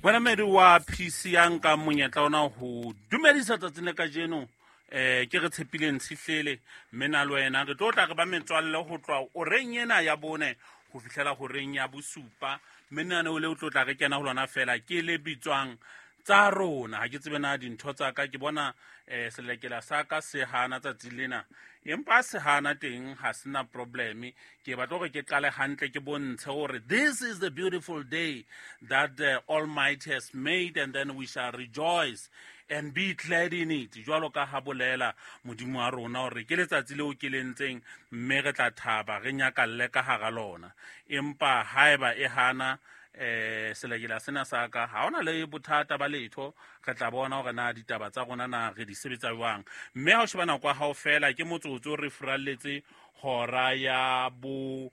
Wena medi wa PC ya nkang monyetla ona ho dumedisa tsatsing le kajeno, ke re tshepileng tshihlele, mme na le wena re tlo tla re ba metswalle ho tloha oreng ena ya 4 ho fihlela horeng ya 7. Mme lenaneo leo tlo tla re kena ho lona fela ke le bitswang Tsa Rona. Ha ke tsebe na dintho tsa ka, ke bona selekela sa ka se hana tsatsi lena, empa se hana teng ha se na probleme. Ke batla hore ke qale hantle, ke bontshe hore this is the beautiful day that the Almighty has made, and then we shall rejoice and be glad in it. Jwalo ka ha bolela Modimo wa rona hore ke letsatsi leo ke le ntseng, mme re tla thaba re nyakalle ka hara lona. Empa haeba e hana selekela sena sa ka, ha ona le bothata ba letho, re tla bona hore na ditaba tsa rona na re di sebetsa jwang. Mme ha o sheba nako ya hao fela ke motsotso re furalletse hora ya 4.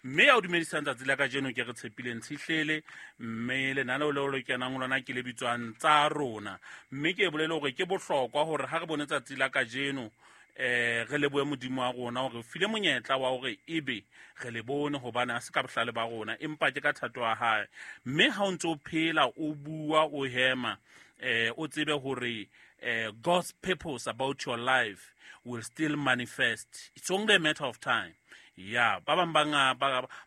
Mme ya o dumedisang tsatsi la kajeno ke re tshepileng tshihlele, mme lenaneo leo le kenang ho lona ke le bitswang Tsa Rona. Mme ke bolele hore ke bohlokwa hore ha re bone tsatsi la kajeno, re lebohe Modimo wa rona hore file monyetla wa hore ebe re le bone, hobane ha se ka bohlale ba rona, empa ke ka thato ya hae. Mme ha o ntse o phela, o bua, o hema, o tsebe hore God's purpose about your life will still manifest. It's only a matter of time. Ya ba bang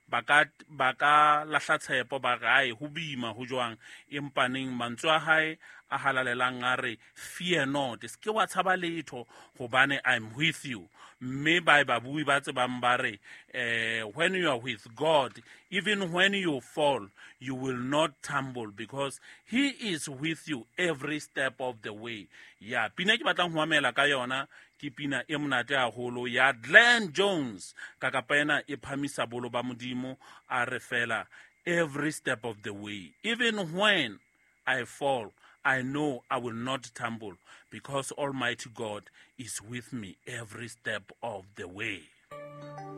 ba ka lahla tshepo, ba re ai ho boima ho jwang, empa neng mantswe a hae a halalelang a re, "Fear not, se ke wa tshaba letho, hobane I'm with you." Mme ba babui ba tsebang ba re, when you are with God, even when you fall, you will not tumble, because he is with you every step of the way. Ya pina ke batlang ho amela ka yona ke pina e monate haholo ya Glenn Jones, ka kapa ena e phamisa bolo ba Modimo, a re fela, "Every step of the way, even when I fall, I know I will not tumble, because Almighty God is with me every step of the way."